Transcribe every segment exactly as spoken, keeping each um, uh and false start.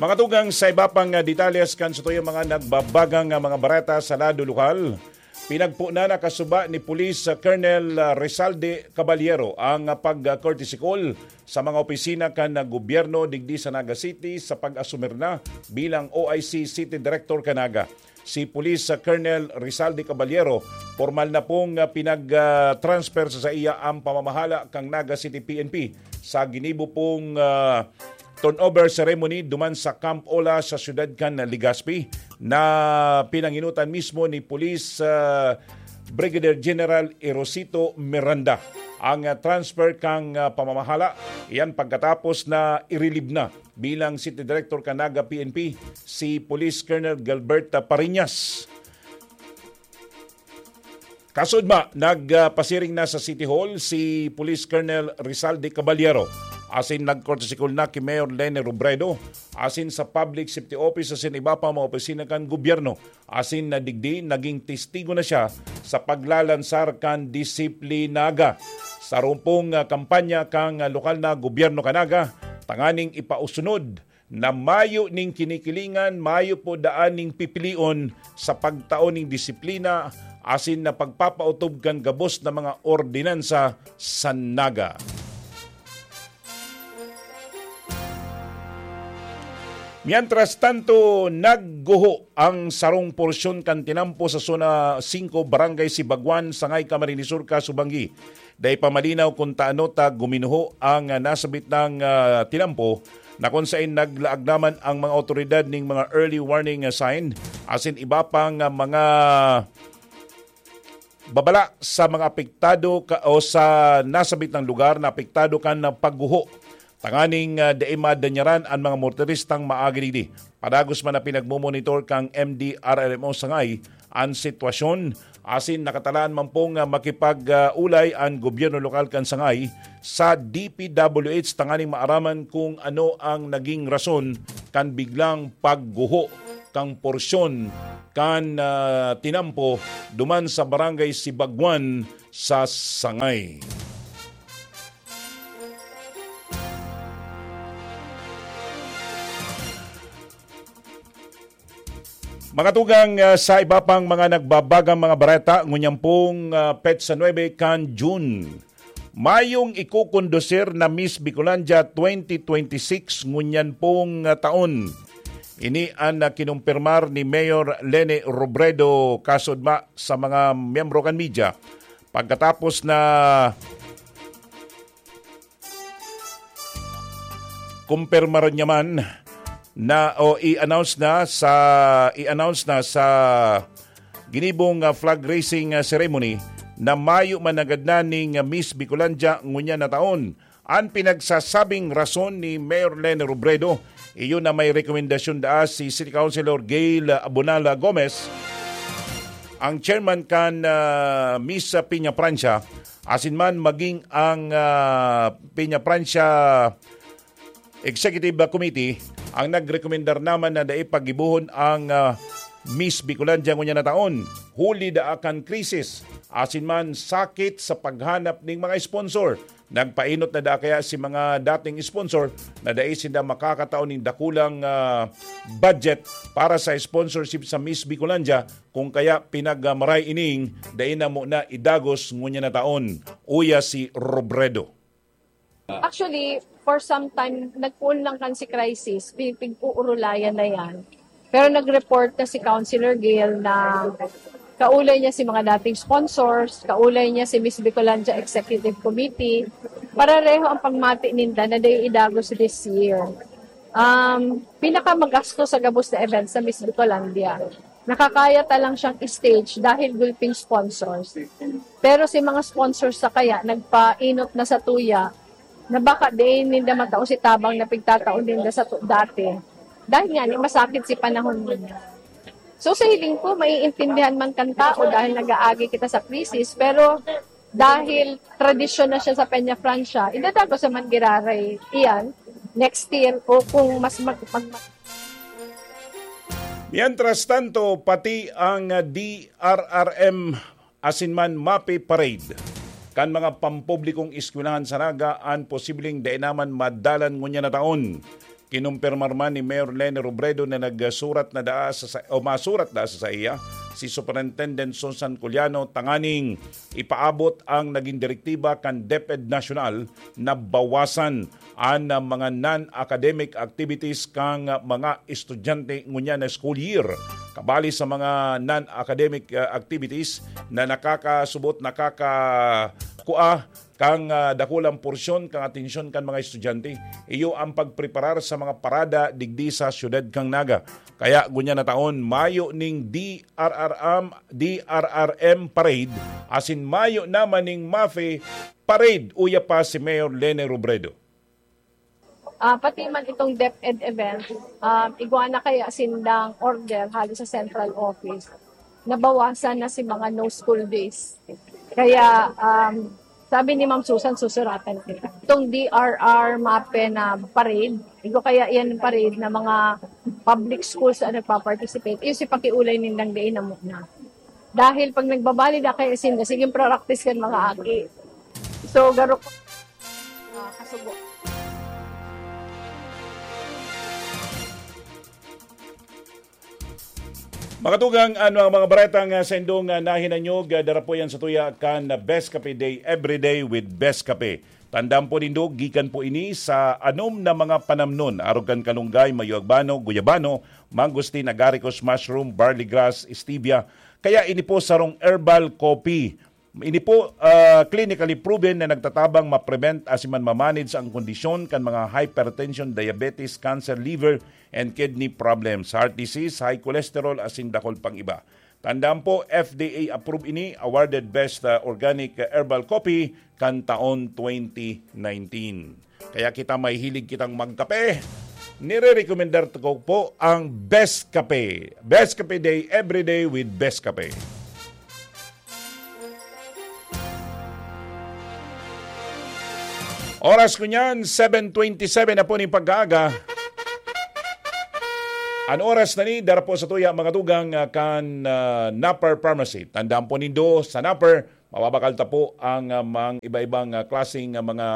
Mga tugang, sa iba pang, ah, detalles kan sa tuyang mga nagbabagang, ah, mga bareta sa lado lokal, pinagpo na nakasuba ni Police, ah, Colonel, ah, Rizalde Caballero ang, ah, pag-courtesy call sa mga opisina kan, ah, gobyerno digdi sa Naga City sa pag-asumir na bilang O I C City Director kan Naga. Si Police, ah, Colonel Rizalde Caballero, pormal na pong, ah, pinag-, ah, transfer sa saiya ang pamamahala kan Naga City P N P sa ginibo pong, ah, turnover ceremony duman sa Camp Ola sa siyudad kan Legazpi, na pinanginutan mismo ni Police, ah, Brigadier General Erosito Miranda. Ang, ah, transfer kan, ah, pamamahala, iyan pagkatapos na i-relieve na bilang City Director kan Naga P N P si Police Colonel Gilbert Pariñas. Kasudma, nagpasiring na sa City Hall si Police Colonel Rizalde Caballero, asin nagkortesikol na ki Mayor Leni Robredo, asin sa Public Safety Office asin iba pa mga opisina kan gobyerno, asin na digdi naging testigo na siya sa paglalansar kan disiplinaga. Sa rumpong, ah, kampanya kan, ah, lokal na gobyerno kan Naga, tanganing ipausunod na mayo ning kinikilingan, mayo po daan ning pipilion sa pagtao ning disiplina asin na pagpapautob kan gabos na mga ordinansa sa Naga. Mientras tanto, nagguho ang sarong porsyon kan tinampo sa Zona singko, Barangay Sibaguan, Sangay, Camarines Sur, Casubangi. Dai pa malinaw kun taano ta guminuho ang, ah, nasabit nang, ah, tinampo, na kun saen naglaag naman ang mga awtoridad ning mga early warning, ah, sign asin iba pang, ah, mga babala sa mga apektado ka, o sa nasabit na lugar na apektado kan, ah, pagguho, tanganing, ah, dai madanyaran an mga motoristang maagi digdi. Padagos man na pinagmomonitor kan M D R R M O Sangay an sitwasyon, asin nakatalaan man pong, ah, makipag-ulay an gobyerno lokal kan Sangay sa D P W H tanganing maaraman kung ano ang naging rason kan biglang pagguho kan porsyon kan, ah, tinampo duman sa Barangay Sibaguan sa Sangay. Mga tugang, ah, sa iba pang mga nagbabagang mga bareta, ngunyan pong, ah, petsa nuebe kan June, mayong ikokondusir na Miss Bicolandia twenty twenty-six ngunyan pong, ah, taon. Ini an, ah, kinumpirmar ni Mayor Leni Robredo kasudma sa mga miyembro kan media pagkatapos na kumpirmar niya man na o i-announce na sa i-announce na sa ginibong, ah, flag raising, ah, ceremony na mayo man nanggad na ning, ah, Miss Bicolandia ngunyan na taon. An pinagsasabing rason ni Mayor Leni Robredo, iyo na may rekomendasyon daa si City Councilor Gail Abonala Gomez, ang chairman kan, ah, Miss Peña Francia, asin man maging ang, ah, Peña Francia Executive Committee ang nagrekomendar naman na dai paggibohon ang, ah, Miss Bicolandia ngunyan na taon, huli daa kan krisis, asin man sakit sa paghanap ning mga sponsor. Nagpainot na daa kaya si mga dating sponsor na dai sinda makakatao ning dakulang, ah, budget para sa sponsorship sa Miss Bicolandia, kung kaya pinagmaray ining dai na muna idagos ngunyan na taon, uya si Robredo. Actually, for some time, nagpoon lang kan si crisis, pi- pigpuurulayan na yan. Pero nag-report na si Councilor Gail na kaulay niya si mga dating sponsors, kaulay niya si Miss Bicolandia Executive Committee, pareho ang pagmati ninda na dai idagos this year. Um, pinakamagastos sa gabos na event sa Miss Bicolandia. Nakakaya ta lang siyang stage dahil gulping sponsors. Pero si mga sponsors sa kaya nagpainot na sa tuya na baka diin ninda matao si tabang na pigtatao ninda sa tu- dati. Dahil nga, ni masakit si panahon ninyo. So sa hiling ko, maiintindihan man kan tao dahil nag-aagi kita sa krisis, pero dahil tradisyon na siya sa Peña Francia, idadagos naman giraray iyan next year o kung mas mag, mag, mag Mientras tanto, pati ang D R R M asin man MAPEH parade kan mga pampublikong eskwelahan sa Naga an posibleng dai naman madalan ngunyan na taon. Kinumpirmar man ni Mayor Leni Robredo na nagsurat na daa sa, sa, o masurat daa sa saiya si Superintendent Susan Culiano tanganing ipaabot ang naging direktiba kan DepEd National na bawasan an, ah, mga non-academic activities kan, ah, mga estudyante ngunyan na school year. Kabali sa mga non-academic, ah, activities na nakakasubot, nakakakua kan, ah, dakulang porsyon kan atensyon kan mga estudyante, iyo ang pagpreparar sa mga parada digdi sa siyudad kan Naga. Kaya ngunyan na taon, mayo ning D R R M, D R R M parade, asin mayo naman ning MAFE parade, uya pa si Mayor Leni Robredo. Ah, pati man itong DepEd event, um, igwa na kaya sindang order hali sa central office. Nabawasan na si mga no school days. Kaya um, sabi ni Ma'am Susan, susuratan kita. Itong D R R MAFE na parade, igwa kaya yan parade na mga public schools ang nagpa-participate. Iyo si pakiulay nindang diin na muna. Dahil pag nagbabali na kayo sinda, sige practice kan mga aki. So, garo ko. Ah, kasubo. Mga tugang, ano ang mga baretang, ah, sa indong, ah, nahinanyog, ah, dara po yan sa tuya kan, ah, Best Cafe Day, Everyday with Best Cafe. Tandaan po nindo, gikan po ini sa anom na mga panamnon, arog kan kalunggay, mayo agbano, guyabano, mangosteen, agaricus, mushroom, barley grass, stevia. Kaya ini po sarong herbal coffee. Ini po, ah, clinically proven na nagtatabang ma-prevent asin man ma-manage ang kondisyon kan mga hypertension, diabetes, cancer, liver, and kidney problems, heart disease, high cholesterol, asin dakul pang iba. Tandaan po, F D A approved ini, awarded Best, ah, Organic, ah, Herbal Coffee kan taon twenty nineteen. Kaya kita mahihilig kitang magkape. Nire-recommendar ko po ang Best Kape. Best Kape Day, every day with Best Kape. Oras ko niyan, seven twenty-seven na po ning pag-aaga. An oras na ni, dara po sa tuya, mga tugang, ah, kan, ah, Napper Pharmacy. Tandaan po nindo, sa Napper, mababakal ta po ang, ah, mga iba-ibang, ah, klaseng, ah, mga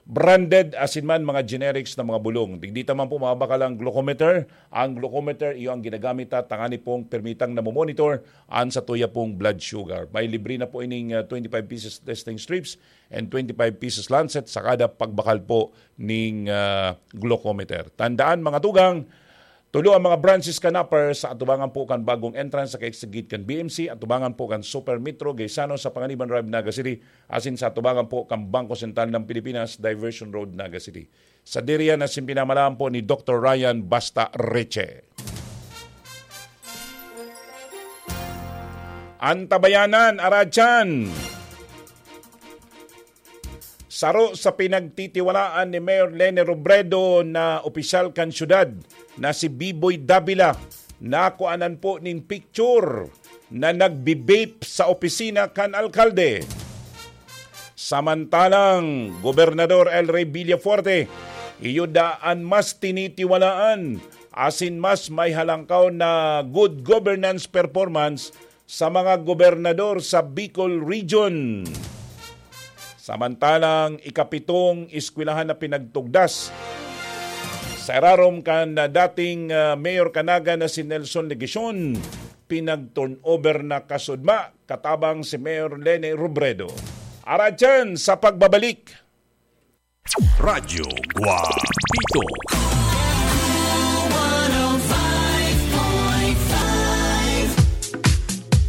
branded asin man mga generics na mga bulong. Digdi ta man po mababakal ang glucometer. Ang glucometer, iyo ang ginagamit ta tangani pong permitang namomonitor an sa tuya pong blood sugar. May libre na po ining, ah, twenty-five pieces testing strips and twenty-five pieces lancet sa kada pagbakal po ning, ah, glucometer. Tandaan, mga tugang, tulo ang mga branches kan Napper sa atubangan po kan bagong entrance sa kaigsigit kan B M C, atubangan po kan Super Metro, Gaisano sa Panganiban Drive, Naga City, asin sa atubangan po kan Bangko Sentral ng Pilipinas, Diversion Road, Naga City. Sa diriyan na simpinamalaan po ni Doktor Ryan Basta Reche. Antabayanan, Aradyan. Saro sa pinagtitiwalaan ni Mayor Leni Robredo na opisyal kan syudad na si Biboy Davila, nakuanan po nin picture na nagbibape sa opisina kan alkalde. Samantalang, Gobernador El Rey Villafuerte, iyo daan mas tinitiwalaan asin mas may halangkaw na good governance performance sa mga gobernador sa Bicol Region. Samantalang ikapitong eskwelahan na pinagtugdas sa irarom kan dating, ah, Mayor Kanaga na si Nelson Legacion, pinag-turnover na kasudma katabang si Mayor Leni Robredo. Aradyan sa pagbabalik. Radyo Guapito.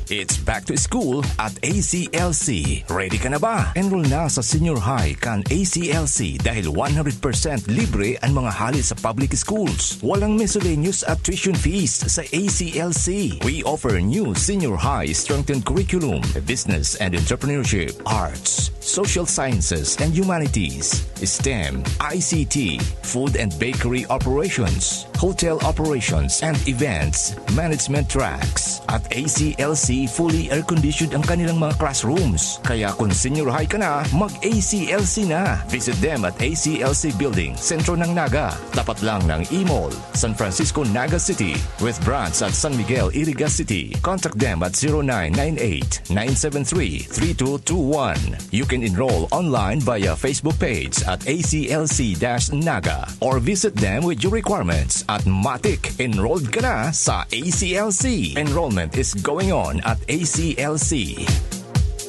It's back to school at A C L C. Ready ka na ba? Enroll na sa senior high kan A C L C dahil one hundred percent libre ang mga hali sa public schools. Walang miscellaneous at tuition fees sa A C L C. We offer new senior high strengthened curriculum, business and entrepreneurship, arts, social sciences and humanities, STEM, I C T, food and bakery operations, hotel operations and events management tracks. At A C L C, fully Air-conditioned ang kanilang mga classrooms. Kaya kung senior high ka na, mag-A C L C na. Visit them at A C L C Building, sentro ng Naga. Tapat lang ng E-Mall, San Francisco, Naga City, with branch at San Miguel, Iriga City. Contact them at zero nine nine eight, nine seven three, three two two one. You can enroll online via Facebook page at A C L C dash Naga or visit them with your requirements at Matik. Enrolled ka na sa A C L C. Enrollment is going on at A C L C.